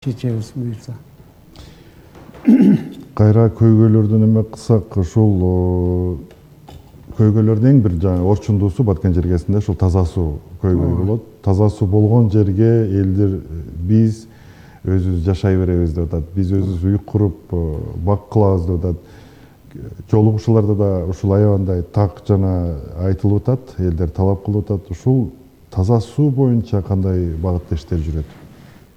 чечебиз буюрса. Кайра көйгөйлөрдөн эме кылсак, ушул көйгөйлөрдүн эң бир орчундуусу Баткен жергесинде ушул таза суу көйгөйү болот. Таза суу болгон жерге элдер биз өзүбүз жашай беребиз деп атат. Биз өзүбүз үй куруп бак кылабыз деп атат. Жолугушууларда да ушул аябандай так жана айтылып атат, элдер талап кылып атат. Ушул таза суу боюнча кандай багытта иштер жүрөт?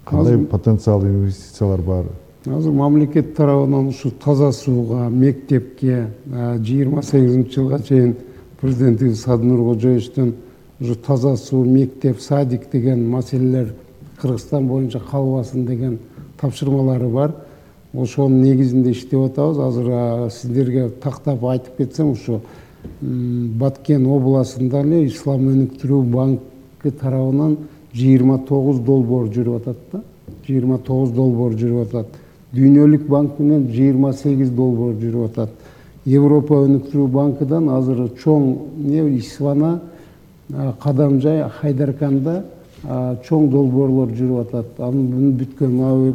Кандай потенциал инвестициялар бар? Азыр мамлекет тарабынан ушу таза сууга, мектепке 28-жылга чейин президентибиз Садынур Кожоевичтен ушу таза суу, мектеп, садик деген маселелер Кыргызстан боюнча калбасын деген тапшырмалары бар. Ошонун негизинде иштеп атабыз. Азыр сиздерге тактап айтып кетсем, ушу Баткен областында эле Ислам өнүктүрүү банкы тарабынан 29 долбоор жүрүп атат да. 29 долбоор жүрүп атат. Дүйнөлүк банк менен 28 долбоор жүрүп атат. Европа өнүктүрүү банкыдан азыр чоң Исвана, Кадамжай, Хайдарканда чоң долбоорлор жүрүп атат. Анын бүткөн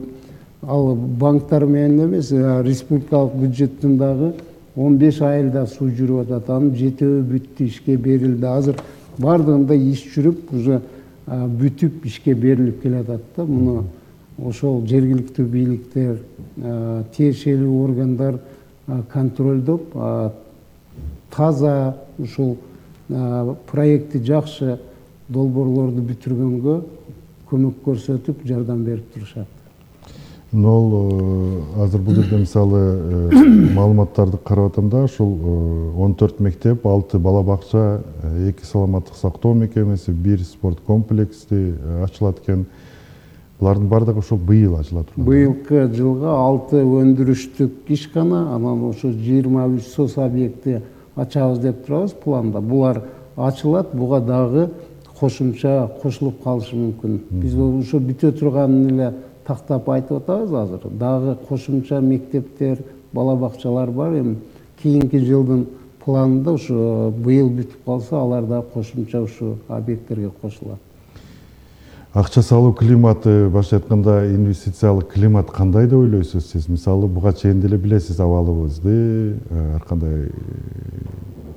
ал банктар менен эмес, республикалык бюджеттен дагы 15 айылда суу жүрүп атат. Анын жетөө бүттү, ишке берилди. Азыр бардыгында иш жүрүп, уже бүтүп ишке берилип келатат да. Муну ошол жергиликтүү бийликтер, тиешелүү органдар контролдоп, таза ушул проекти жакшы долбоорлорду бүтүргөнгө көмөк көрсөтүп, жардам берип турушат. Азыр бул жерде мисалы маалыматтарды карап атам да, ушул 14 мектеп, 6 бала бакча, 2 саламаттык сактоо мекемеси, 1 спорт комплекси ачылат экен. Булардын бардыгы ушул быйыл ачыла турган. Быйылкы жылга 6 өндүрүштүк ишкана, анан ошо 23 соц объекти ачабыз деп турабыз планда. Булар ачылат, буга дагы кошумча кошулуп калышы мүмкүн. Биз ошо бүтө турганын эле тактап айтып атабыз азыр. Дагы кошумча мектептер, бала бакчалар бар. Эми кийинки жылдын планында ушу быйыл бүтүп калса, алар да кошумча ушу объекттерге кошулат. Акча салуу климаты, башка айтканда инвестициялык климат кандай деп ойлойсуз сиз? Мисалы буга чейин деле билесиз абалыбызды, ар кандай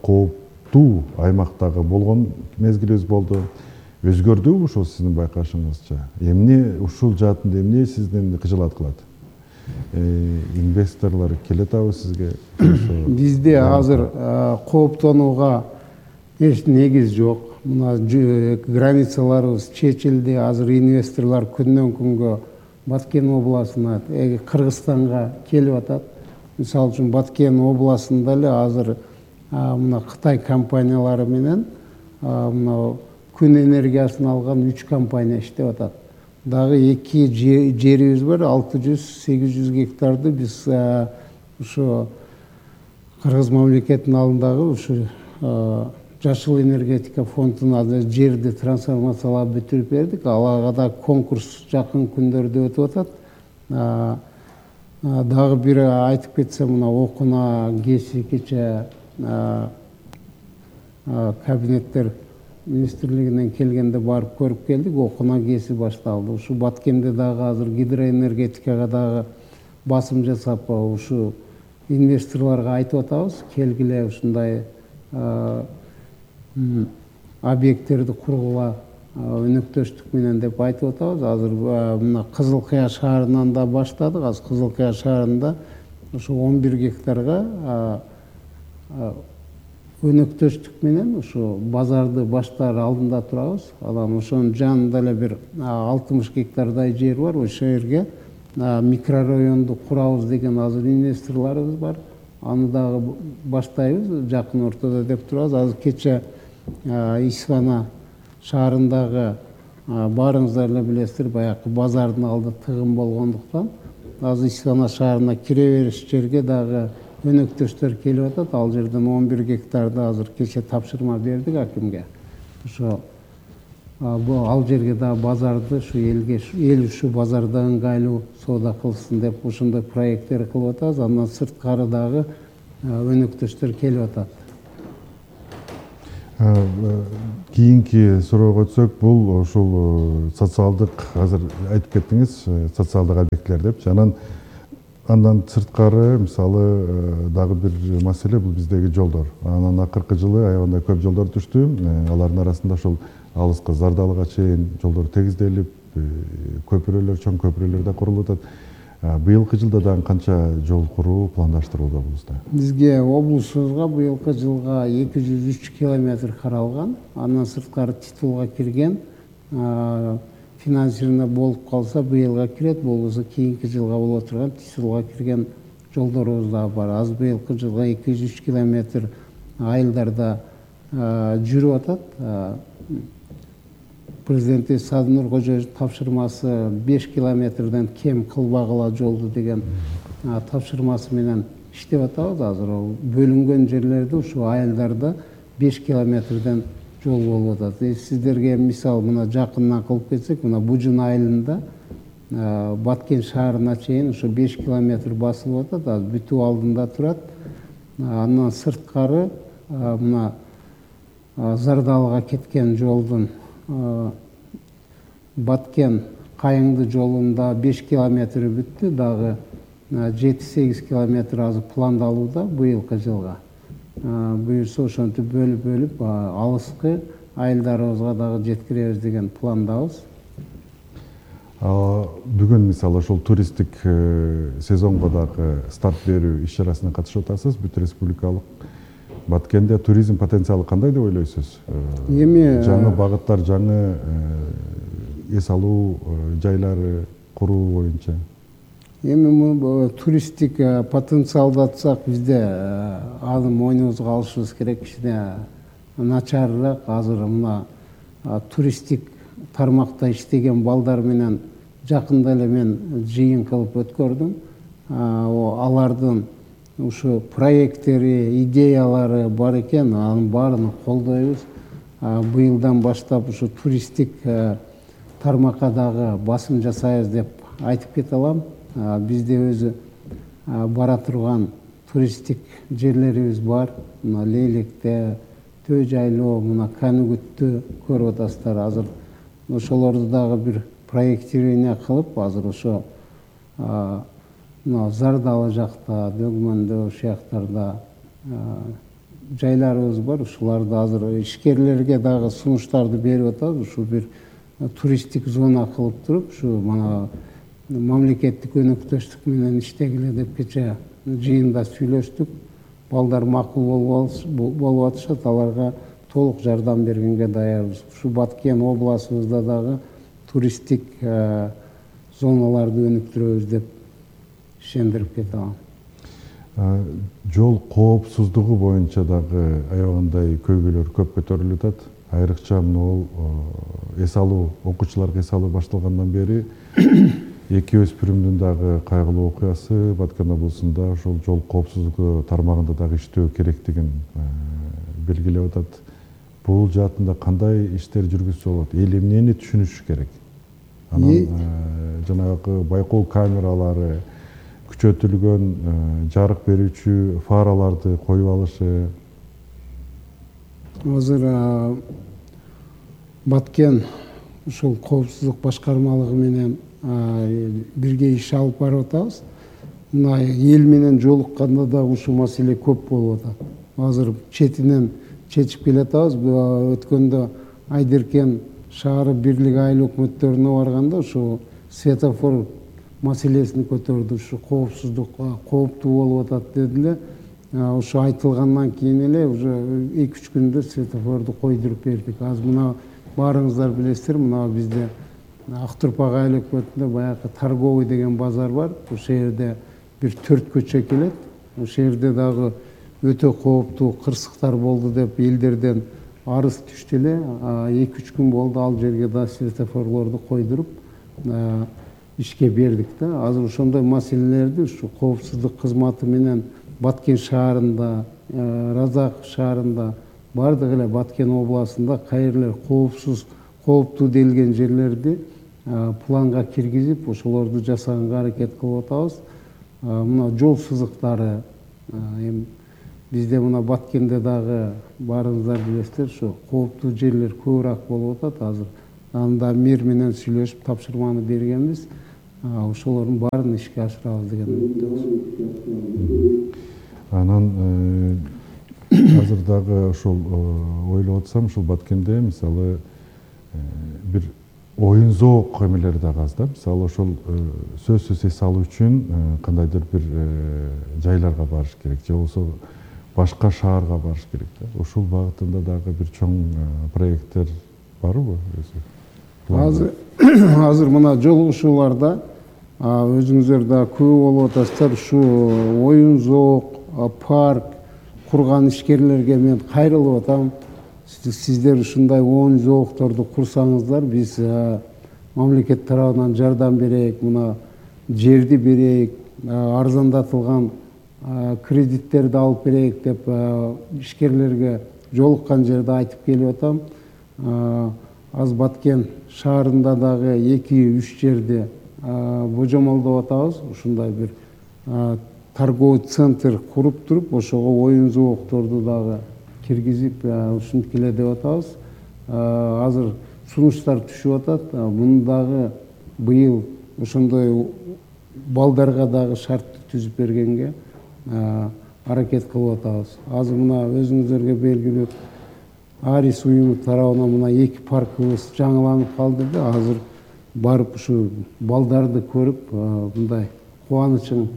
кооптуу аймактагы болгон мезгилибиз болду. Өзгөрдүбү ушул сиздин байкашыңызча? Эмне ушул жаатында эмне сиздин кыжылат кылат? Инвесторлор келе атабы сизге? Бизде азыр кооптонууга эч негиз жок. Мына границаларыбыз чечилди. Азыр инвесторлор күндөн күнгө Баткен областына, Кыргызстанга келип атат. Мисалы үчүн Баткен областында эле азыр мына Кытай компаниялары менен мына күн энергиясын алган 3 компания иштеп атат. Дагы 2 жерибиз бар, 600-800 гектарды биз ушу Кыргыз мамлекетинин алдындагы ушу Жашыл энергетика фондуна жерди трансформациялап бүтүрүп бердик. Аларга да конкурс жакын күндөрдө өтүп атат. Дагы бир айтып кетсем, мына окуна ГЭСи кече кабинеттер министрлигинен келгенде барып көрүп келдик. Окуна ГЭСи башталды. Ушу Баткенде дагы азыр гидроэнергетикага дагы басым жасап, ушу инвесторлорго айтып атабыз, келгиле ушундай объекттерди кургула өнөктөштүк менен деп айтып атабыз. Азыр мына Кызыл Кыя шаарынан да баштадык. Азыр Кызыл Кыя шаарында ушу 11 гектарга өнөктөштүк менен ушу базарды баштаар алдында турабыз. Анан ошонун жанында эле бир 60 гектардай жер бар. Ошол жерге микрорайонду курабыз деген азыр инвесторлорубуз бар. Аны дагы баштайбыз жакын ортодо деп турабыз. Азыр кече Исвана шаарындагы баарыңыздар эле билесиздер, баягы базардын алды тыгын болгондуктан азыр Исвана шаарына кире бериш жерге дагы өнөктөштөр келип атат. Ал жерден 11 гектарды азыр кече тапшырма бердик акимге. Ошо ал жерге да базарды ушу эл ушу базарда ыңгайлуу соода кылсын деп ошондой проекттер кылып атабыз. Андан сырткары дагы өнөктөштөр келип атат. кийинки суроого өтсөк, бул ушул социалдык, азыр айтып кеттиңиз, социалдык объектилер депчи. Андан сырткары мисалы дагы бир маселе бул биздеги жолдор. Анан акыркы жылы аябагандай көп жолдор түштү. Алардын арасында ушул алыска Зардалыга чейин жолдор тегизделип, көпүрөлөр, чоң көпүрөлөр да курулуп атат. Быйылкы жылда дагы канча жол куруу пландаштырылды облуста? Бизге облусубузга быйылкы жылга 203 километр каралган. Андан сырткары титулга кирген, финансирование болуп калса быйылга кирет, болбосо кийинки жылга боло турган титулга кирген жолдорубуз да бар. Аз быйылкы жылга 203 километр айылдарда жүрүп атат. Президент Садынур Кожоевичтин тапшырмасы 5 километрден кем кылбагыла жолду деген тапшырмасы менен иштеп атабыз. Азыр бөлүнгөн жерлерде ушу айылдарда 5 километрден жол болуп атат. Сиздерге мисал мына жакындан кылып кетсек, мына Бужун айылында Баткен шаарына чейин ушу 5 километр басылып атат. Азыр бүтүү алдында турат. Андан сырткары мына Зардалыга кеткен жолдун Баткен Кайыңды жолунда 5 километри бүттү, дагы 7-8 километр азыр пландалууда быйылкы жылга. Буюрса ошентип бөлүп алыскы айылдарыбызга дагы жеткиребиз деген пландабыз. Бүгүн мисалы ошол туристтик сезонго дагы старт берүү иш-чарасына катышып атасыз. Бүт республикалык Баткенде туризм потенциалы кандай деп ойлойсуз? Эми жаңы багыттар, жаңы эс алуу жайлары куруу боюнча. Эми туристтик потенциалды атсак, бизде аны мойнубузга алышыбыз керек. Кичине начарыраак. Азыр мына туристтик тармакта иштеген балдар менен жакында эле мен жыйын кылып өткөрдүм. Алардын ушу проекттери, идеялары бар экен, анын баарын колдойбуз. Быйылдан баштап ушу туристтик тармакка дагы басым жасайбыз деп айтып кете алам. Бизде өзү бара турган туристтик жерлерибиз бар. Мына Лейлекте, Төө жайлоо, мына Каныгүттү көрүп атасыздар. Азыр ошолорду дагы бир проектирование кылып, азыр ошо Зардалы жакта, Дөгмөндө, ошол жактарда жайларыбыз бар. Ушуларды азыр ишкерлерге дагы сунуштарды берип атабыз. Ушу бир туристтик зона кылып туруп, ушу мана мамлекеттик өнөктөштүк менен иштегиле деп кече жыйында сүйлөштүк. Балдар макул болуп атышат, аларга толук жардам бергенге даярбыз. Ушу Баткен областыбызда дагы туристтик зоналарды өнүктүрөбүз деп ишендирип кете алам. Жол коопсуздугу боюнча дагы аябагандай көйгөйлөр көп көтөрүлүп атат. Айрыкча могул эс алуу, окуучуларга эс алуу башталгандан бери эки өспүрүмдүн дагы кайгылуу окуясы Баткен облусунда ошол жол коопсуздугу тармагында дагы иштөө керектигин белгилеп атат. Бул жаатында кандай иштер жүргүзсө болот? Эл эмнени түшүнүш керек? Анан жанагы байкоо камералары, күчөтүлгөн жарык берүүчү фараларды коюп алышы. Азыр Баткен ушул коопсуздук башкармалыгы менен бирге иш алып барып атабыз. Мына эл менен жолукканда да ушул маселе көп болуп атат. Азыр четинен чечип келе атабыз. Өткөндө Айдеркен шаары бирлиги айыл өкмөттөрүнө барганда ушу светофор маселесин көтөрдү. Ушу коопсуздук кооптуу болуп атат дедиле. Ушу айтылгандан кийин эле уже 2-3 күндө светофорду койдуруп бердик. Азыр мына баарыңыздар билесиздер, мына бизде Актурпак айыл өкмөтүндө баягы торговый деген базар бар. Ошол жерде бир 4 көчө келет. Ошол жерде дагы өтө кооптуу кырсыктар болду деп элдерден арыз түштү эле. 2-3 күн болду, ал жерге да светофорлорду койдуруп ишке бердик да. Азыр ошондой маселелерди ушу коопсуздук кызматы менен Баткен шаарында, Разак шаарында, бардык эле Баткен областында кайерлер кооптуу делген жерлерди планга киргизип, ошолорду жасаганга аракет кылып атабыз. Мына жол сызыктары, бизде мына Баткенде дагы баарыңыздар билесиздер, ушу кооптуу жерлер көбүрөөк болуп атат азыр. Анда мэр менен сүйлөшүп тапшырманы бергенбиз. Ошолордун баарын ишке ашырабыз деген үмүттөбүз. Анан азыр дагы ошол ойлоп атсам, ушул Баткенде мисалы бир оюн зоок эмелери дагы аз да. Мисалы ошол сөзсүз эс алуу үчүн кандайдыр бир жайларга барыш керек, же болбосо башка шаарга барыш керек да. Ушул багытында дагы бир чоң проекттер барбы? Азыр мына жолугушууларда өзүңүздөр да көп болуп атасыздар. Ушу оюн зоок, парк курган ишкерлерге мен кайрылып атам. Сиздер ушундай оюн зоокторду курсаңыздар, биз мамлекет тарабынан жардам берейик, мына жерди берейик, арзандатылган кредиттерди алып берейик деп ишкерлерге жолуккан жерде айтып келип атам. Аз Баткен шаарында дагы 2-3 жерде божомолдоп атабыз. Ушундай бир торговый центр куруп туруп, ошого оюн зоокторду дагы киргизип ушинтип эле деп атабыз. Азыр сунуштар түшүп атат. Муну дагы быйыл ошондой балдарга дагы шартты түзүп бергенге аракет кылып атабыз. Азыр мына өзүңүздөргө белгилүү Арис уюму тарабынан мына 2 паркыбыз жаңыланып калды да. Азыр барып ушу балдарды көрүп мындай кубанычың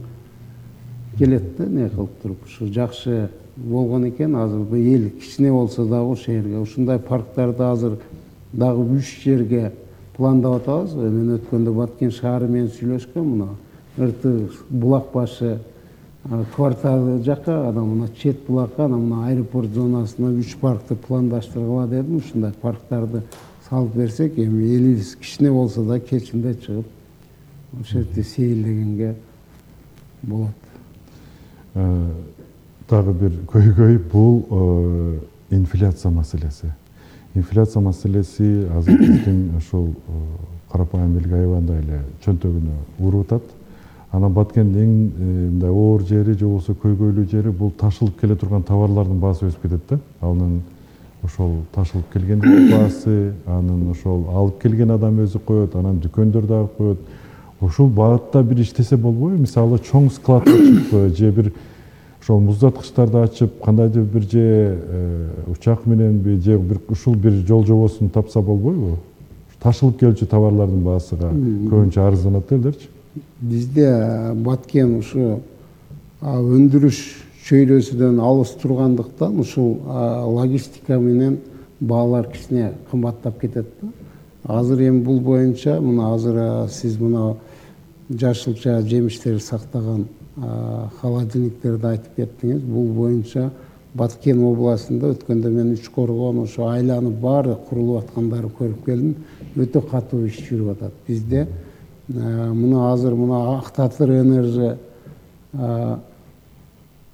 келет да, не кылып туруп. Ушу жакшы болгон экен. Азыр бул эл кичине болсо дагы ошол жерге ушундай парктарды азыр дагы 3 жерге пландап атабыз. Мен өткөндө Баткен шаары менен сүйлөшкөм. Мына ырты булак башы кварталы жакка, анан мына чет булакка, анан мына аэропорт зонасына 3 паркты пландаштыргыла дедим. Ушундай парктарды салып берсек, эми элибиз кичине болсо да кечинде чыгып ошол жерде сейилдегенге болот. Дагы бир көйгөй бул инфляция маселеси. Инфляция маселеси азыр биздин ошол карапайым элге аябандай эле чөнтөгүнө уруп атат. Анан Баткендин мындай оор жери же болбосо көйгөйлүү жери бул ташылып келе турган товарлардын баасы өсүп кетет да. Анын ошол ташылып келгендин баасы, анын ошол алып келген адам өзү коет, анан дүкөндөр дагы коет. Ушул багытта бир иштесе болбойбу? Мисалы чоң склад ачып же бир ошол муздаткычтарды ачып, кандайдыр бир же учак мененби же бир ушул бир жол жобосун тапса болбойбу? Ташылып келчү товарлардын баасыга көбүнчө арызданат элдерчи. Бизде Баткен ушу өндүрүш чөйрөсүдөн алыс тургандыктан ушул логистика менен баалар кичине кымбаттап кетет да. Азыр эми бул боюнча мына азыр сиз мына жашылча жемиштерди сактаган холодильниктерди айтып кеттиңиз. Бул боюнча Баткен областында өткөндө мен Үчкоргон ошо айланып баары курулуп аткандарын көрүп келдим. Өтө катуу иш жүрүп атат. Бизде мына азыр мына Актатыр энержи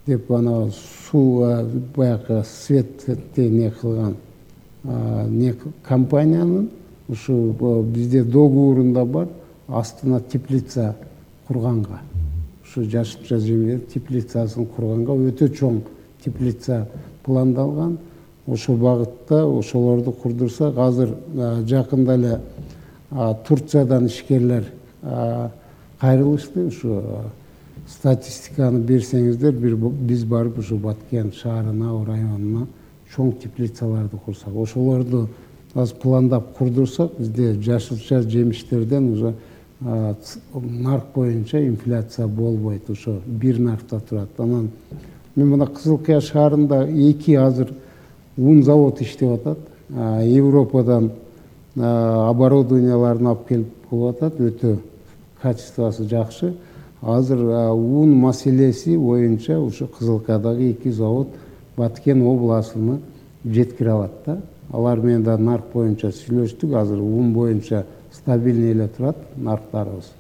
деп ана суу баягы светти не кылган не компаниянын ушу бизде договорунда бар, астына теплица курганга. Ушу жашылча жемер теплицасын курганга өтө чоң теплица пландалган. Ошол багытта ошолорду курдурсак, азыр жакында эле Турциядан ишкерлер кайрылышты. Ушу статистиканы берсеңиздер, биз барып ушу Баткен шаарына, районуна чоң теплицаларды курсак, ошолорду аз пландап курдурсак, бизде жашылча жемиштерден уже нарк боюнча инфляция болбойт. Ошо бир наркта турат. Анан мен мына Кызылкыя шаарында 2 азыр ун завод иштеп атат. Европадан оборудованияларын алып келип болуп атат. Өтө качествосы жакшы. Азыр ун маселеси боюнча ушу Кызылкыядагы 2 завод Баткен областына жеткире алат да. Алар менен да нарк боюнча сүйлөштүк. Азыр ун боюнча стабильный эле турат нарктарыбыз.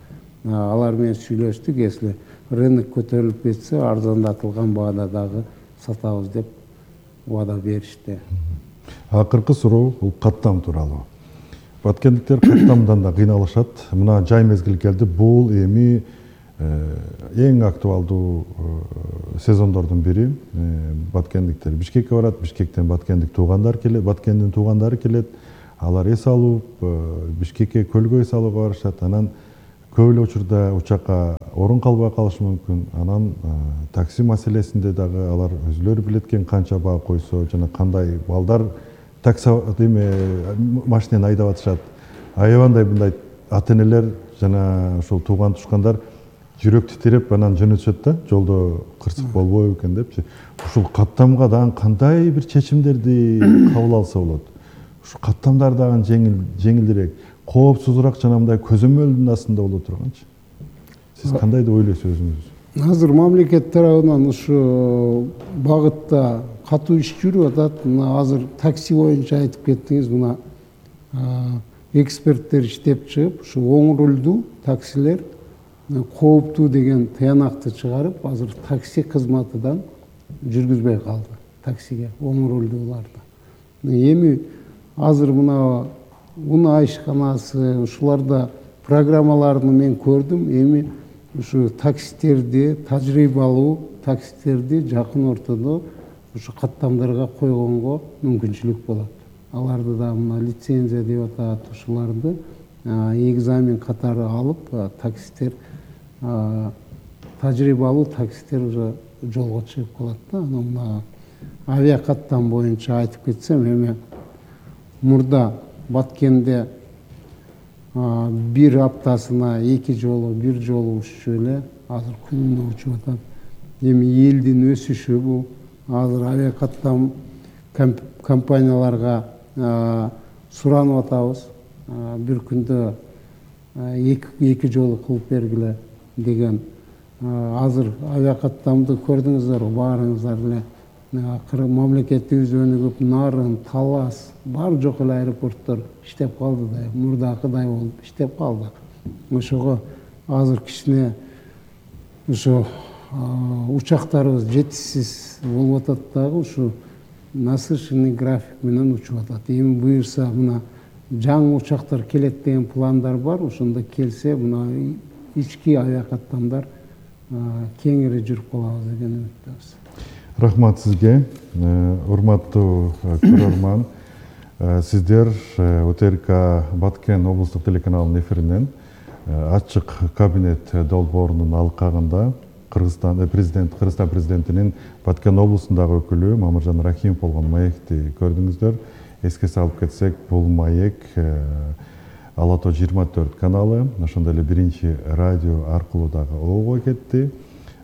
Алар менен сүйлөштүк. Если рынок көтөрүлүп кетсе, арзандатылган баада дагы сатабыз деп убада беришти. Акыркы суроо бул каттам тууралуу. Баткендиктер каттамдан да кыйналышат. Мына жай мезгил келди. Бул эми эң актуалдуу сезондордун бири. Баткендиктер Бишкекке барат, Бишкектен Баткендин туугандары келет. Алар эс алып, Бишкекке көлгө эс алууга барышат. Анан көп эле учурда учакка орун калбай калышы мүмкүн. Анан такси маселесинде дагы алар өзүлөрү билет экен канча баа койсо жана кандай балдар такси машинени айдап атышат. Аябандай мындай ата-энелер жана ушул тууган тушкандар жүрөк титиреп анан жөнөтүшөт да, жолдо кырсык болбойбу экен депчи. Ушул каттамга дагы кандай бир чечимдерди кабыл алса болот? Ушу каттамдар дагы жеңилдирээк, коопсузураак жана мындай көзөмөлдүн астында боло турганчы. Сиз кандай деп ойлойсуз өзүңүз? Азыр мамлекет тарабынан ушу багытта катуу иш жүрүп атат. Мына азыр такси боюнча айтып кеттиңиз. Мына эксперттер иштеп чыгып, ушу оң рулдуу таксилер кооптуу деген таянакты чыгарып, азыр такси кызматыдан жүргүзбөй калды. Таксиге оң рулдууларды. Эми азыр мына унаа ишканасы ушуларда программаларын мен көрдүм. Эми ушу таксистерди, тажрыйбалуу таксистерди жакын ортодо ушу каттамдарга койгонго мүмкүнчүлүк болот. Аларды да мына лицензия деп атат, ушуларды экзамен катары алып, таксистер тажрыйбалуу таксистер уже жолго чыгып калат да. Анан мына авиакаттам боюнча айтып кетсем, эми мурда Баткенде бир аптасына 2 жолу, 1 жолу уччу эле, азыр күнүнө учуп атат. Эми элдин өсүшү бул. Азыр авиакаттам компанияларга суранып атабыз. Бир күндө 2 жолу кылып бергиле деген. Азыр авиакаттамды көрдүңүздөр, баарыңыздар эле. Мамлекетибиз өнүгүп, Нарын, Талас, бар жок эле аэропорттор иштеп калды да, мурдакыдай болуп иштеп калды. Ошого азыр кичине ушу учактарыбыз жетишсиз болуп атат дагы, ушу насыщенный график менен учуп атат. Эми буюрса мына жаңы учактар келет деген пландар бар. Ошондо келсе, мына ички авиакаттамдар кеңири жүрүп калабыз деген үмүттөбүз. Рахмат сизге, урматтуу көрөрман. Сиздер ОТРК Баткен облустук телеканалынын эфиринен ачык кабинет долбоорунун алкагында Кыргызстан президентинин Баткен облусундагы өкүлү Мамыржан Рахимов болгон маекти көрдүңүздөр. Эске салып кетсек, бул маек Ала Тоо 24 каналы, ошондой эле биринчи радио аркылуу дагы оого кетти.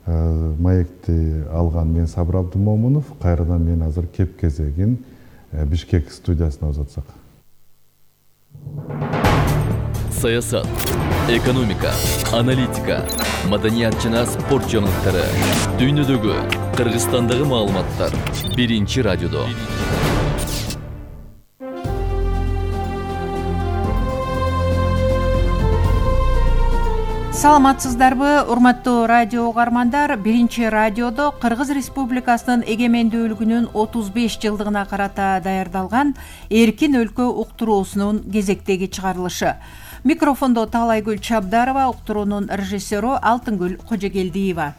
Маекти алган мен Сабыр Абдымомунов. Кайрадан мен азыр кеп кезегин Бишкек студиясына узатсак. Саясат, экономика, аналитика, маданият жана спорт жаңылыктары, дүйнөдөгү, Кыргызстандагы маалыматтар биринчи радиодо. Саламатсыздарбы, урматтуу радио угармандар. Биринчи радиодо Кыргыз Республикасынын эгемендүүлүгүнүн 35 жылдыгына карата даярдалган Эркин өлкө уктуруусунун кезектеги чыгарылышы. Микрофондо Таалайгүл Чабдарова, уктуруунун режиссеру Алтынгүл Кожогелдиева.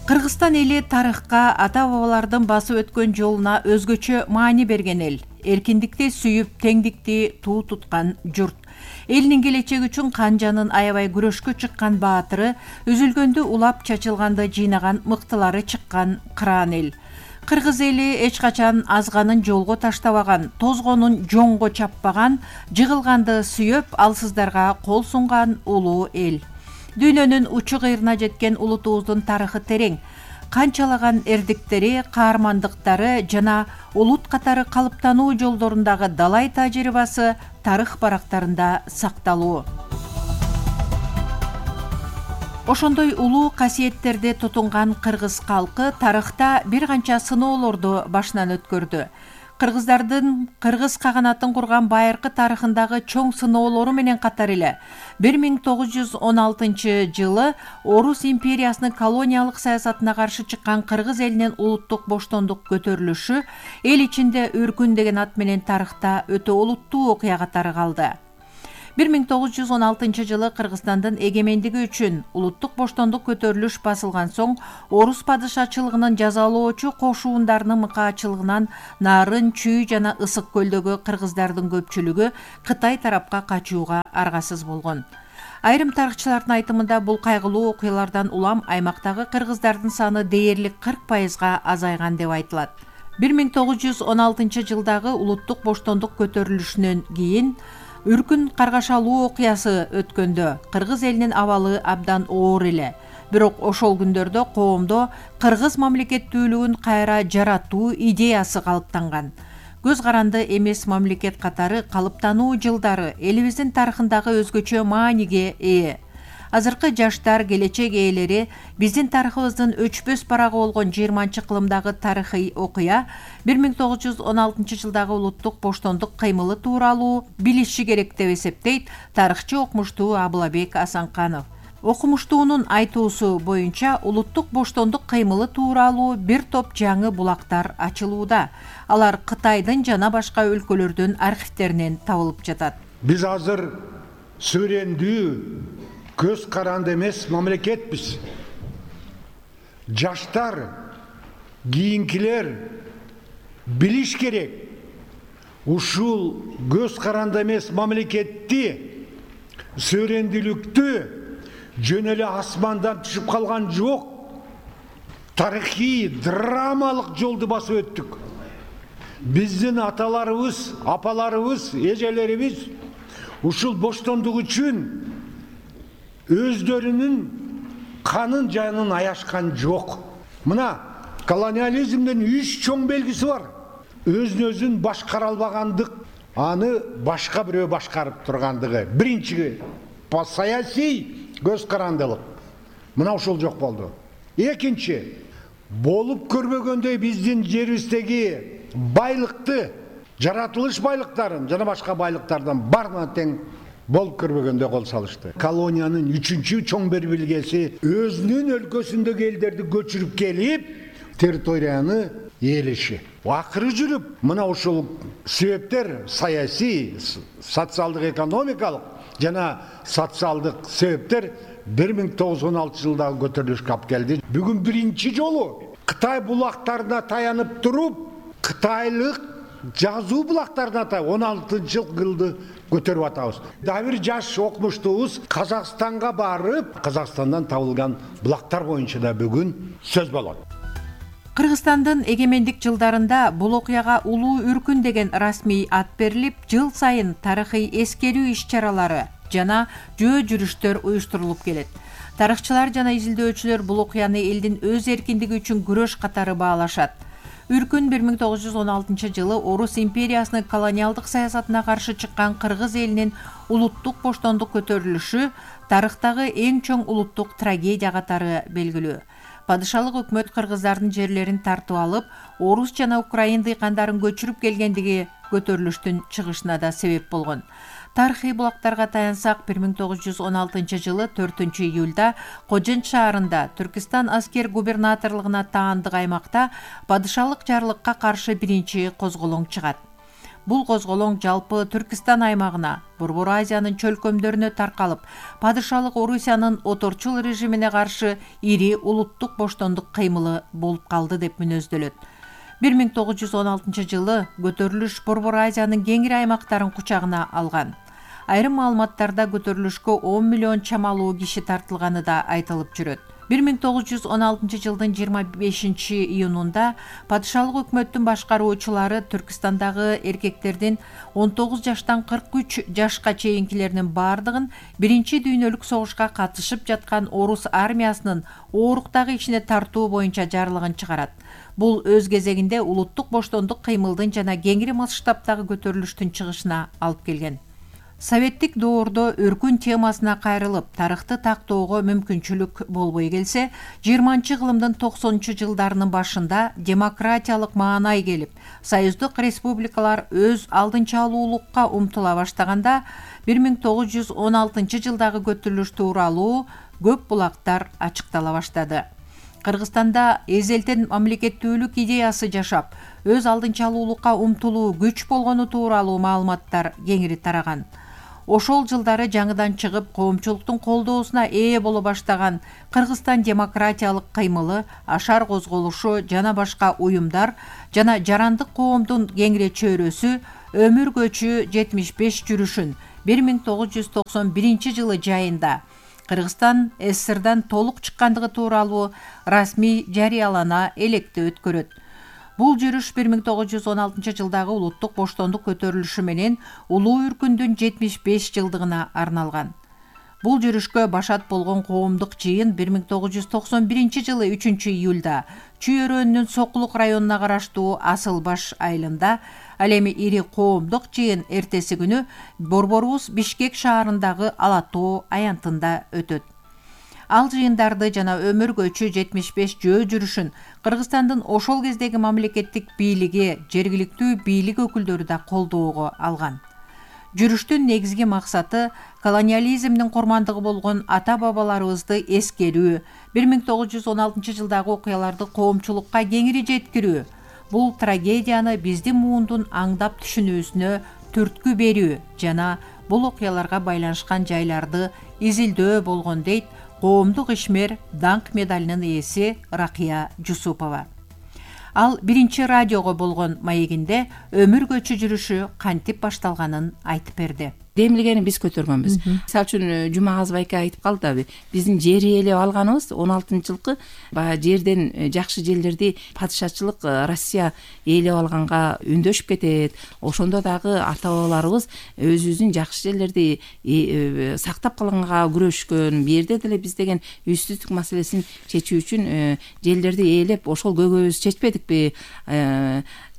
Кыргызстан эли тарыхка, ата-бабалардын басып өткөн жолуна өзгөчө маани берген эл. Эркиндикти сүйүп, теңдикти туу туткан журт. Элинин келечеги үчүн канжанын аябай күрөшкө чыккан баатыры, үзүлгөндө улап, чачылганда жыйнаган мыктылары чыккан кыраан эл. Кыргыз эли эч качан азганын жолго таштабаган, тозгонун жоңго чаппаган, жыгылганды сүйөп, алсыздарга кол сунган улуу эл. Дүйнөнүн учу кыйрына жеткен улутубуздун тарыхы терең. Канчалаган эрдиктери, каармандыктары жана улут катары калыптануу жолдорундагы далай тажрыйбасы тарых барактарында сакталуу. Ошондой улуу касиеттерди тутунган кыргыз калкы тарыхта бир канча сыноолорду башынан өткөрдү. Кыргыздардын кыргыз каганатын курган байыркы тарыхындагы чоң сыноолору менен катар эле 1916 жылы Орус империясынын колониялык саясатына каршы чыккан кыргыз элинин улуттук боштондук көтөрүлүшү эл ичинде өркүн деген ат менен тарыхта өтө олуттуу окуя катары калды. 1916 жылы Кыргызстандын эгемендиги үчүн улуттук боштондук көтөрүлүш басылган соң орус падышачылыгынын жазалоочу кошуундарынын мыкаачылыгынан Нарын, Чүй жана Ысык көлдөгү кыргыздардын көпчүлүгү Кытай тарапка качууга аргасыз болгон. Айрым тарыхчылардын айтымында бул кайгылуу окуялардан улам аймактагы кыргыздардын саны дээрлик 40%га азайган деп айтылат. 1916 жылдагы улуттук боштондук көтөрүлүшүнөн кийин Үркүн каргашалуу окуясы өткөндө кыргыз элинин абалы абдан оор эле. Бирок ошол күндөрдө коомдо кыргыз мамлекеттүүлүгүн кайра жаратуу идеясы калыптанган. Көз каранды эмес мамлекет катары калыптануу жылдары элибиздин тарыхындагы өзгөчө мааниге ээ. Азыркы жаштар, келечек ээлери биздин тарыхыбыздын өчпөс барагы болгон 20-кылымдагы тарыхый окуя 1916 жылдагы улуттук боштондук кыймылы тууралуу билиши керек деп эсептейт тарыхчы окумуштуу Абылабек Асанканов. Окумуштуунун айтуусу боюнча улуттук боштондук кыймылы тууралуу бир топ жаңы булактар ачылууда. Алар Кытайдын жана башка өлкөлөрдүн архивтеринен табылып жатат. Биз азыр сүрөндүү, көз каранды эмес мамлекетпиз. Жаштар, кийинкилер билиш керек. Ушул көз каранды эмес мамлекетти, сүрөндүүлүктү жөн эле асмандан түшүп калган жок. Тарыхый, драмалык жолду басып өттүк. Биздин аталарыбыз, апаларыбыз, эжелерибиз ушул боштондук үчүн өздөрүнүн канын жанын аяшкан жок. Мына колониализмдин 3 чоң белгиси бар. Өзүн башкара албагандык, аны башка бирөө башкарып тургандыгы. Биринчи саясий көз карандылык. Мына ушул жок болду. Экинчи, болуп көрбөгөндөй биздин жерибиздеги байлыкты, жаратылыш байлыктарын жана башка байлыктардан барына тең болуп көрбөгөндө кол салышты. Колониянын 3-чү чоң бир белгиси өзүнүн өлкөсүндөгү элдерди көчүрүп келип, территорияны ээлеши. Акыры жүрүп, мына ушул себептер саясий, социалдык, экономикалык жана социалдык себептер 1916 жылдагы көтөрүлүшкө алып келди. Бүгүн биринчи жолу Кытай булактарына таянып туруп, кытайлык жазуу булактарына 16-жылды көтөрүп атабыз. Дагы бир жаш окумуштуубуз Казакстанга барып, Казакстандан табылган булактар боюнча да бүгүн сөз болот. Кыргызстандын эгемендик жылдарында бул окуяга Улуу Үркүн деген расмий ат берилип, жыл сайын тарыхый эскерүү иш-чаралары жана жөө жүрүштөр уюштурулуп келет. Тарыхчылар жана изилдөөчүлөр бул окуяны элдин өз эркиндиги үчүн күрөш катары баалашат. Үркүн 1916 жылы Орус империясынын колониалдык саясатына каршы чыккан кыргыз элинин улуттук боштондук көтөрүлүшү тарыхтагы эң чоң улуттук трагедия катары белгилүү. Падышалык өкмөт кыргыздардын жерлерин тартып алып, орус жана украин дыйкандарын көчүрүп келгендиги көтөрүлүштүн чыгышына да себеп болгон. Тарыхый булактарга таянсак, 1916 жылы 4-июлда Кожен шаарында Түркистан аскер губернаторлугуна таандык аймакта падышалык жарлыкка каршы биринчи козголоң чыгат. Бул козголоң жалпы Түркистан аймагына, Борбор Азиянын чөлкөмдөрүнө таркалып, падышалык Орусиянын оторчул режимине каршы ири улуттук боштондук кыймылы болуп калды деп мүнөздөлөт. 1916 жылы көтөрүлүш Борбор Азиянын кеңири аймактарын кучагына алган. Айрым маалыматтарда көтөрүлүшкө 10 миллион чамалуу киши тартылганы да айтылып жүрөт. 1916 жылдын 25 июнунда падышалык өкмөттүн башкаруучулары Түркистандагы эркектердин 19 жаштан 43 жашка чейинкилеринин бардыгын биринчи дүйнөлүк согушка катышып жаткан орус армиясынын ооруктагы ишине тартуу боюнча жарлыгын чыгарат. Бул өз кезегинде улуттук боштондук кыймылдын жана кеңири масштабтагы көтөрүлүштүн чыгышына алып келген. Советтик доордо Үркүн темасына кайрылып, тарыхты тактоого мүмкүнчүлүк болбой келсе, 20-кылымдын 90-жылдарынын башында демократиялык маанай келип, союздук республикалар өз алдынча алуулукка умтула баштаганда 1916 жылдагы көтөрүлүш тууралуу көп булактар ачыктала баштады. Кыргызстанда эзелтен мамлекеттүүлүк идеясы жашап, өз алдынча алуулукка умтулуу күч болгону тууралуу маалыматтар кеңири тараган. ошол жылдары жаңыдан чыгып коомчулуктун колдоосуна ээ боло баштаган Кыргызстан демократиялык кыймылы, Ашар козголушу жана башка уюмдар жана жарандык коомдун кеңире чөйрөсү Өмүр көчү 75 жүрүшүн 1991 жылы жайында Кыргызстан СССРдан толук чыккандыгы тууралуу расмий жарыялана электе өткөрөт. Бул жүрүш 1916 жылдагы улуттук боштондук көтөрүлүшү менен улуу үркүндүн 75 жылдыгына арналган. Бул жүрүшкө башат болгон коомдук жыйын 1991 жылы 3-июлда Чүй өрөөнүнүн Сокулук районуна караштуу Асылбаш айылында, ал эми ири коомдук жыйын эртеси күнү борборубуз Бишкек шаарындагы Ала Тоо аянтында өтөт. Ал жыйындарды жана Өмүр көчү 75 жөө жүрүшүн Кыргызстандын ошол кездеги мамлекеттик бийлиги, жергиликтүү бийлик өкүлдөрү да колдоого алган. Жүрүштүн негизги максаты колониализмдин курмандыгы болгон ата-бабаларыбызды эскерүү, 1916 жылдагы окуяларды коомчулукка кеңири жеткирүү, бул трагедияны биздин муундун аңдап түшүнүүсүнө түрткү берүү жана бул окуяларга байланышкан жайларды изилдөө болгон дейт коомдук ишмер даңк медалынын ээси Ракыя Жусупова. Ал биринчи радиого болгон маегинде Өмүр көчү жүрүшү кантип башталганын айтып берди. Демилгени биз көтөргөнбүз. Мисалы үчүн Жумагазов айка айтып калды, биздин жер ээлеп алганыбыз 16-жылкы баягы жерден жакшы жерлерди падышачылык Россия ээлеп алганга үндөшүп кетет. Ошондо дагы ата-бабаларыбыз өзүбүздүн жакшы жерлерди сактап калганга күрөшкөн. Бу жерде деле биз деген үстүздүк маселесин чечүү үчүн жерлерди ээлеп ошол көйгөйүбүздү чечпедикпи?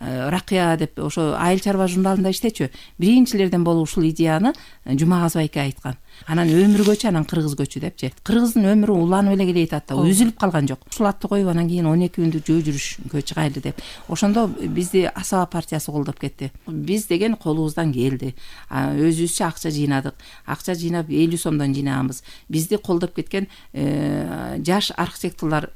Ракыя деп ошо Айыл чарба журналында иштечү. Биринчилерден болуп ушул идеяны Жумагазов айка айткан. Анан Өмүр көчү, анан Кыргыз көчү депчи. Кыргыздын өмүрү уланып эле келет атта, үзүлүп калган жок. Ушул атты коюп анан кийин 12 күндүк жөө жүрүшкө чыгайлы деп. Ошондо бизди Асаба партиясы колдоп кетти. Биз деген колубуздан келди. Өзүбүзчө акча жыйнадык. Акча жыйнап 50 сомдон жыйнаганбыз. Бизди колдоп кеткен жаш архитекторлор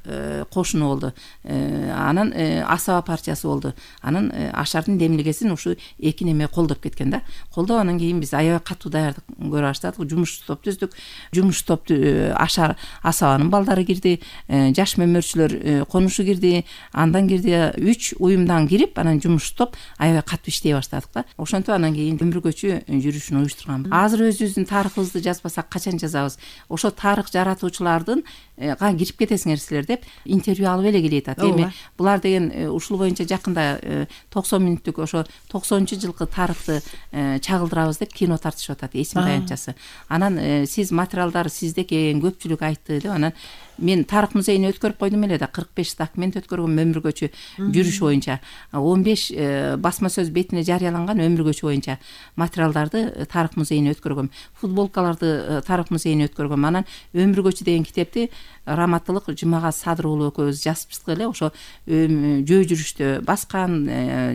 кошуну болду. Анан Асаба партиясы болду. Анан Ашардын демилгесин ушу эки неме колдоп кеткен да. Колдоп анан кийин биз аябай катуу даярдык көрө баштадык. Жумуш топ түздүк. Жумуш топту Ашар Асабанын балдары кирди, жаш мөмөрчүлөр конушу кирди, андан кирди 3 уюмдан кирип, анан жумуш топ аябай катуу иштей баштадык да. Ошентип анан кийин Өмүр көчү жүрүшүн уюштурганбыз. Азыр өзүбүздүн тарыхыбызды жазбасак качан жазабыз? Ошо тарых жаратуучулардын кирип кетесиңер силер деп интервью алып эле келет ат. Эми булар деген ушул боюнча жакында 90 мүнөттүк ошо 90-жылкы тарыхты чагылдырабыз деп кино тартышып атат, эсим таянтчасы. Анан сиз материалдар сизде экен, көпчүлүк айтты деп анан мен тарых музейине өткөрүп койдум эле да, 45 документ өткөргөм Өмүр көчү жүрүш боюнча. 15 басма сөз бетине жарыяланган Өмүр көчү боюнча материалдарды тарых музейине өткөргөм. Футболкаларды тарых музейине өткөргөм. Анан Өмүр көчү деген китепти Раматтылык Жумагаз Садыр уулу экөөбүз жазыптык эле ошо жөө жүрүштө баскан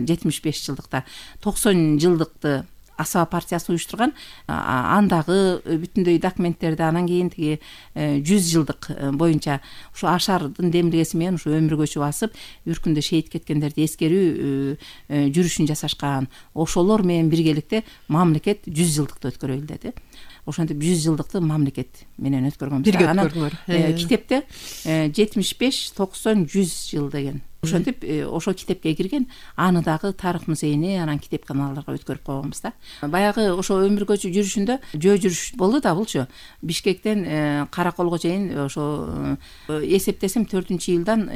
75 жылдыкта 90 жылдыкты Асаба партиясы уюштурган. Андагы бүтүндөй документтерди анан кийин тиги 100 жылдык боюнча ушу Ашардын демилгеси менен ушу Өмүр көчү басып, үркүндө шейит кеткендерди эскерүү жүрүшүн жасашкан. Ошолор менен биргеликте мамлекет 100 жылдыкты өткөрөлү деди. Ошентип 100 жылдыкты мамлекет менен өткөргөнбүз. Бирге өткөрдүңөр. Китепте 75, 90, 100 жыл деген. Ошентип ошо китепке кирген, аны дагы тарых музейине, анан китеп каналдарга өткөрүп койгонбуз да. Баягы ошо Өмүр көчү жүрүшүндө жөө жүрүш болду да булчу. Бишкектен Караколго чейин ошо эсептесем 4-июлдан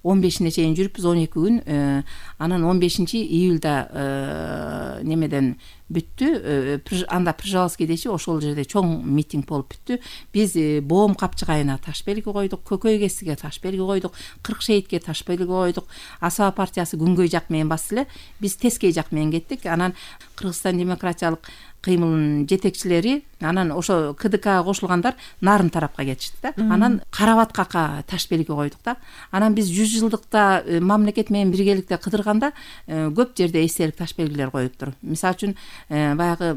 15-ине чейин жүрүпбүз, 12 күн. Анан 15-июлда немеден бүттү. Анда Пржевальский дечи ошол жерде чоң митинг болуп бүттү. Биз Боом капчыгайына таш белги койдук, Көкөй кесиге таш белги койдук, 40 шейитке таш белги койдук. Асаба партиясы күнгөй жак менен басты эле, биз тескей жак менен кеттик. Анан Кыргызстан демократиялык кыймылынын жетекчилери Анан ошо КДКга кошулгандар нарын тарапка кетишти да. Анан Карабаткакка таш белги койдук да. Анан биз 100 жылдыкта мамлекет менен биргеликте кыдырганда көп жерде эстелик таш белгилер коюптур. Мисалы үчүн баягы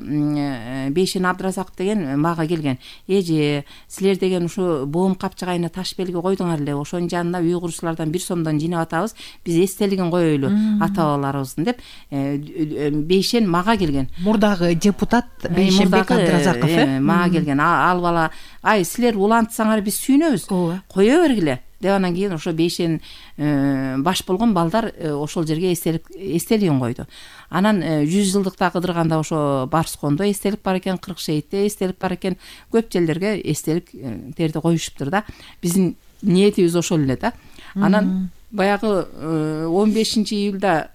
Бейшен Абдыразаков деген мага келген. Эже, силер деген ушу боом капчыгайына таш белги койдуңар эле. Ошонун жанына үй курушчулардан 1 сомдон жыйнап атабыз. Биз эстелигин коелу ата-бабаларыбыздын деп Бейшен мага келген. Мурдагы депутат Бейшенбек Абдыразаков мага келген. Ал бала, ай силер улантсаңар биз сүйүнөбүз. Кое бергиле деп анан кийин ошо Бейшен баш болгон балдар ошол жерге эстелигин койду. Анан 100 жылдыкта кыдырганда ошо Барскондо эстелик бар экен, Кыркшейтте эстелик бар экен. Көп жерлерге эстелик терди коюшуптур да. Биздин ниетибиз ошол эле да. Анан баягы 15-июлда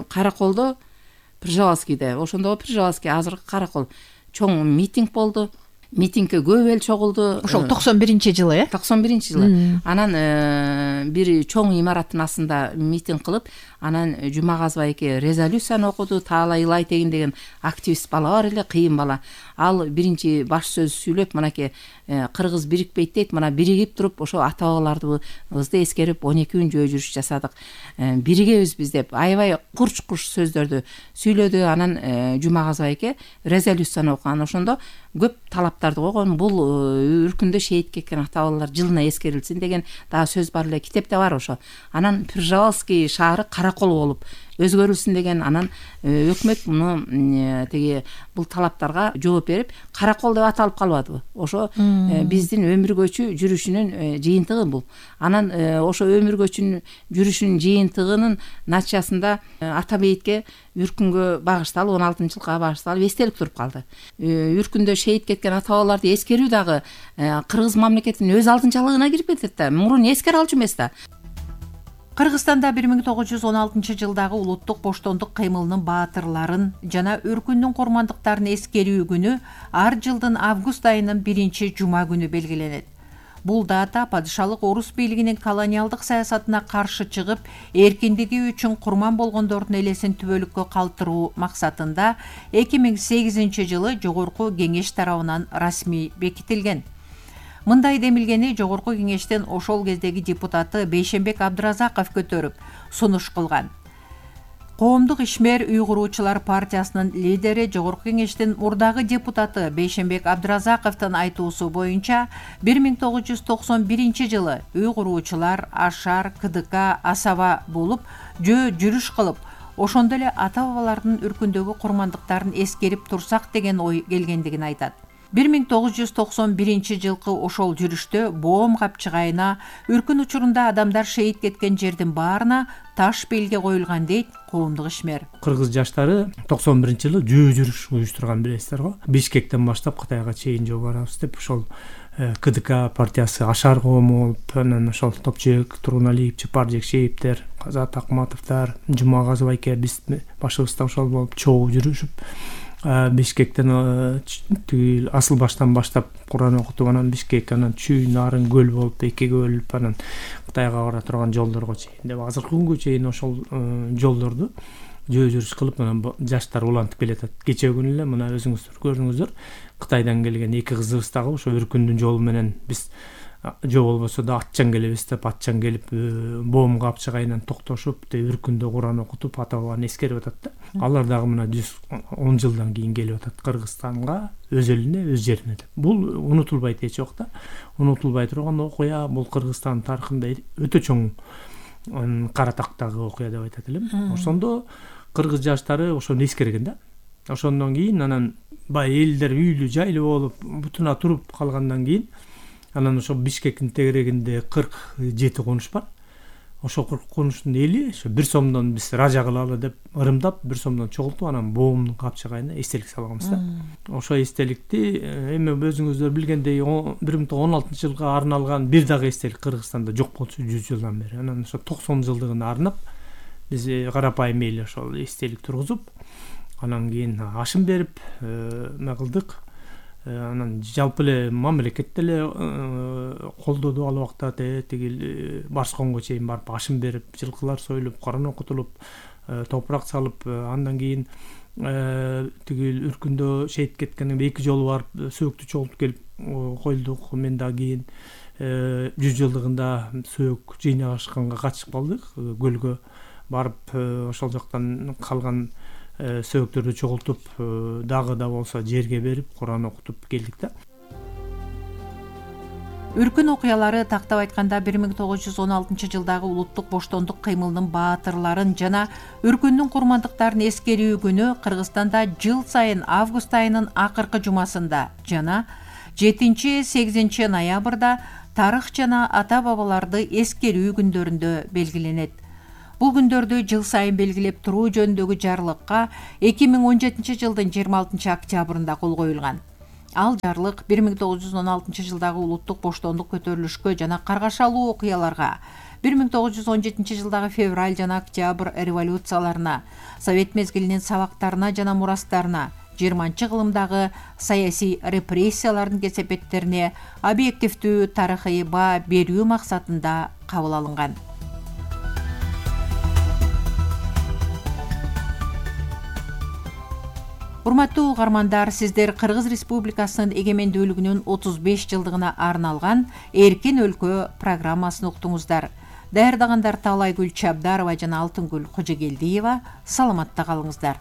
Караколдо, Пржевалскийде, ошондо Пржевалский азыркы Каракол чоң митинг болду. Митингге көп эл чогулду. Ошол 91-жылы, 91-жылы. Анан бир чоң имараттын астында митинг кылып, анан Жумагазов эке резолюцияны окуду. Таалай Илай деген активист бала бар эле, кыйын бала. Ал биринчи баш сөз сүйлөп, мынакей кыргыз бирикпейт дейт. Мына биригип туруп, ошо ата-бабаларыбызды эскерип 12 күн жөө жүрүш жасадык. Биригебиз биз деп аябай курч-курч сөздөрдү сүйлөдү. Анан Жумагазов эке резолюцияны окуган. Ошондо көп талаптарды койгон. Бул үркүндө шейит кеткен ата-бабалар жылына эскерилсин деген дагы сөз бар эле, китепте бар ошо. Анан Пржевалский шаары Каракол болуп өзгөрүлсүн деген. Анан өкмөт муну теги бул талаптарга жооп берип Каракол деп аталып калбадыбы? Ошо биздин өмүргөчү жүрүшүнүн жыйынтыгы бул. Анан ошо өмүргөчүнүн жүрүшүнүн жыйынтыгынын натыйжасында ата бейитке үркүнгө багышталып 16-жылга багышталып эстелик туруп калды. Үркүндө шейит кеткен ата-бабаларды эскерүү дагы кыргыз мамлекетинин өз алдынчалыгына кирип кетет да. Мурун эскере алчу эмес да. Кыргызстанда 1916-жылдагы улуттук боштондук кыймылынын баатырларын жана өркүндүн курмандыктарын эскерүү күнү ар жылдын август айынын 1-жума күнү белгиленет. Бул дата падышалык орус бийлигинин колониалдык саясатына каршы чыгып, эркиндиги үчүн курман болгондордун элесин түбөлүккө калтыруу максатында 2008-жылы Жогорку Кеңеш тарабынан расмий бекитилген. Мындай демилгени Жогорку Кеңештин ошол кездеги депутаты Бейшенбек Абдыразаков көтөрүп, сунуш кылган. Коомдук ишмер үй куруучулар партиясынын лидери Жогорку Кеңештин мурдагы депутаты Бейшенбек Абдыразаковдун айтуусу боюнча 1991-жылы үй куруучулар Ашар, КДК, Асаба болуп жөө жүрүш кылып, ошондо эле ата-бабалардын үркүндөгү курмандыктарын эскерип турсак деген ой келгендигин айтат. 1991-жылкы ошол жүрүштө боом капчыгайына үркүн учурунда адамдар шейит кеткен жердин баарына таш белги коюлган дейт коомдук ишмер. Кыргыз жаштары 91-жылы жөө жүрүш уюштурган билесиздер го. Бишкектен баштап Кытайга чейин жөө барабыз деп ошол КДК партиясы Ашар коому болуп, анан ошол Топчек, Тургуналиев, Чапар Жекшеевдер, Казат Акматовдор, Жумагазов эке биз башыбыз да ошол болуп чогуу жүрүшүп Бишкектен асыл баштан баштап Куран окутуп, анан Бишкек, анан Чүй, Нарын, Көл болуп, экиге бөлүп, анан Кытайга бара турган жолдорго чейин деп азыркы күнгө чейин ошол жолдорду жөө жүрүш кылып, анан жаштар улантып келатат. Кечээ күнү эле мына өзүңүздөр көрдүңүздөр, Кытайдан келген эки кызыбыз дагы ошо үркүндүн жолу менен биз жөө болбосо да атчан келебиз деп, атчан келип боом капчыгайынан токтошуп, үркүндө Куран окутуп, ата-бабаны эскерип атат да. Алар дагы мына 110 жылдан кийин келип атат Кыргызстанга, өз элине, өз жерине деп. Бул унутулбайт эч жок да. Унутулбай турган окуя, бул Кыргызстан тарыхында өтө чоң кара тактагы окуя деп айтат элем. Ошондо кыргыз жаштары ошону эскерген да. Ошондон кийин анан бай элдер үйлүү жайлуу болуп, бутуна туруп калгандан кийин анан ошо Бишкектин тегерегинде 47 конуш бар. Ошо 40 конуштун эли ошо 1 сомдон биз ража кылалы деп ырымдап 1 сомдон чогултуп, анан боомдун капчыгайына эстелик салганбыз да. Ошо эстеликти эми өзүңүздөр билгендей 2016-жылга арналган бир дагы эстелик Кыргызстанда жок болчу 100 жылдан бери. Анан ошо 90 жылдыгына арнап биз карапайым эле ошол эстелик тургузуп, анан кийин ашым берип кылдык. Анан жалпы эле мамлекет деле колдоду ал убакта, тигил Барсконго чейин барып ашым берип, жылкылар союлуп, Куран окутулуп, топурак салып, андан кийин тигил Үркүндө шейит кеткенден кийин 2 жолу барып сөөктү чогултуп келип койлдук. Мен да кийин 100 жылдыгында сөөк жыйнашканга катышып калдык. Көлгө барып ошол жактан калган сөөктөрдү чогултуп дагы да болсо жерге берип Куран окутуп келдик да. Үркүн окуялары тактап айтканда 1916 жылдагы улуттук боштондук кыймылынын баатырларын жана Үркүндүн курмандыктарын эскерүү күнү Кыргызстанда жыл сайын август айынын акыркы жумасында жана 7-8 ноябрда тарых жана ата-бабаларды эскерүү күндөрүндө белгиленет. Бул күндөрдү жыл сайын белгилеп туруу жөнүндөгү жарлыкка 2017 жылдын 26 октябрында кол коюлган. Ал жарлык 1916 жылдагы улуттук боштондук көтөрүлүшкө жана каргашалуу окуяларга, 1917 жылдагы февраль жана октябрь революцияларына, Совет мезгилинин сабактарына жана мурастарына, 20-кылымдагы саясий репрессиялардын кесепеттерине объективдүү тарыхый баа берүү максатында кабыл алынган. Урматтуу угармандар, сиздер Кыргыз Республикасынын эгемендүүлүгүнүн 35 жылдыгына арналган Эркин өлкө программасын уктуңуздар. Даярдагандар Таалайгүл Чабдарова жана Алтынгүл Кожогелдиева. Саламатта калыңыздар.